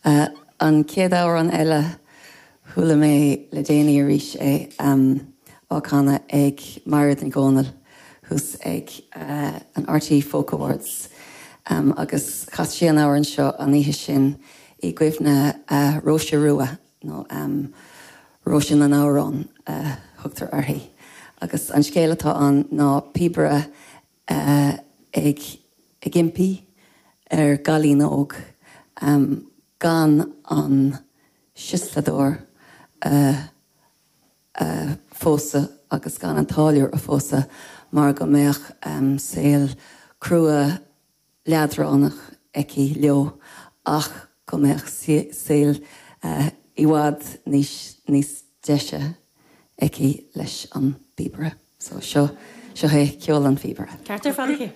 An chéad amhrán eile, chuala mé le déanaí arís é á canadh ag Mairéad Nic Dhomhnaill thuas ag an RTÉ Folk Awards agus chas sí an amhrán seo an oíche sin i gcuimhne Róise Rua nó Róise na nAmhrán a thugtar uirthi. Agus an scéal atá ann ná píobaire ag ag impí ar gcailín óg gan an siosladóir a a phósadh agus gan an táilliúir a phósadh mar go mbeadh saol crua leadránach aici leo ach go mbeadh saol i bhfad níos níos deise aici leis an bpíobaire. So seo, seo é ceol an phíobaire. Ceart ar fad aici.